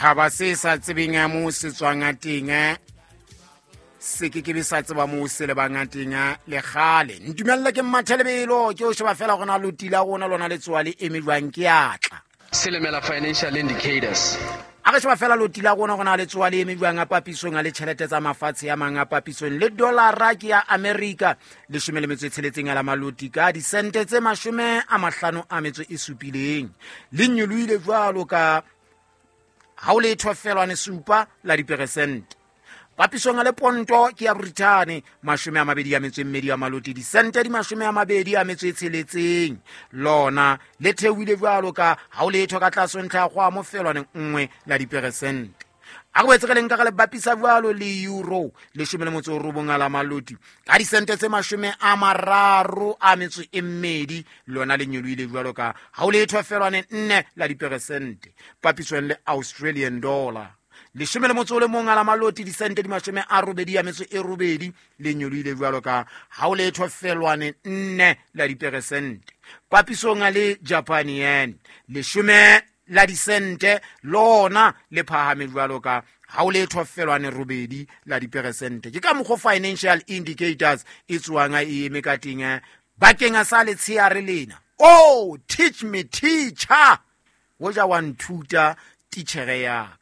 Setjhaba se sa tsebeng ya moo se tswang a teng, se ke ke be sa tseba moo se lebang a teng le kgale. Ntumelle ke mmathe lebelo, ke o sheba fela gona loti la rona lona le tsoa le eme jwang ke atla. Silimela Financial Indicators. A re sheba fela loti la rona gona le tsoa le eme jwang a papisong a le tjhelete tsa mafatshe a mang a papisong le dollara ke ya Amerika 16 a la maloti ka disente tse 57, le nyolohile jwalo ka ha o letho felwane supa la diperesente. Papisong a le ponto ke ya Brithane 22 ya maloti disente di 26, lona le theohile jwalo ka ha o letho ka tlase ntlha ya kgwamo felwane nngwe la diperesente. A re boetse re leng ka re le bapisa jwalo le euro 19 a la maloti ka disente tse 32, lona le nyolohile jwalo ka ha o letho felwane nne la diperesente. Papisong le Australian dollar 11 a la maloti disente di 88, le nyolohile jwalo ka ha o letho felwane nne la diperesente. Papisong le Japan yen 10 la disente, lona le phahame jwalo ka ha o letho felwane robedi la diperesente. Ke ka mokgwa Financial Indicators e tsoang e eme ka teng bakeng sa letsheare lena. Oh, teach me teacher, hoja wa nthuta titjhere ya ka.